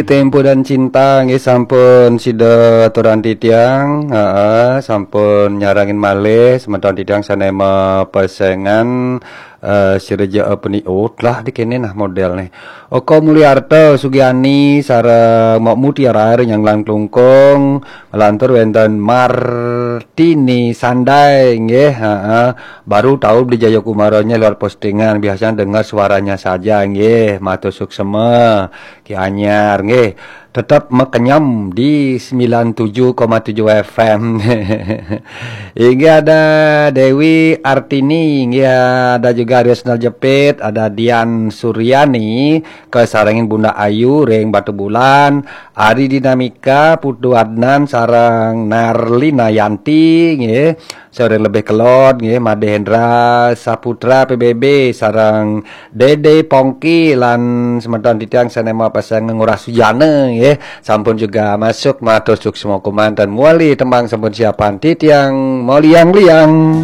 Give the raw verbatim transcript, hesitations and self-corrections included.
Tempo dan Cinta nggih, sampun sida aturang titiang, heeh, sampun nyarengin malih semeton titiang sane mapesengan, eh, sireja apa ni? Oh, telah di kene nah model nih. Oko Mulyarta Sugiani sareng Mok Mutiara Nyanglang Klungkung, lantur wenten Martini Sandai nggih, heeh. Baru tahu beli Jayakumaranya lewat postingan, biasanya dengar suaranya saja nggih. Matur suksema. Ki Anyar nggih. Tetap mekenyam di sembilan tujuh koma tujuh F M. Inggih ada Dewi Artini, inggih ada juga Riosnal Jepit, ada Dian Suryani, kesarengin Bunda Ayu ring Batubulan, Ari Dinamika, Putu Adnan sareng Narlina Yanti nggih. Sore lebih kelod nggih, Made Hendra Saputra P B B sareng Dede Pongki lan semeton titiang sane mapesengan Ngurah Sujana nggih. Sampun juga masuk, matur suksma kumanten. Muali tembang sampun siapan titiang moliang-liang.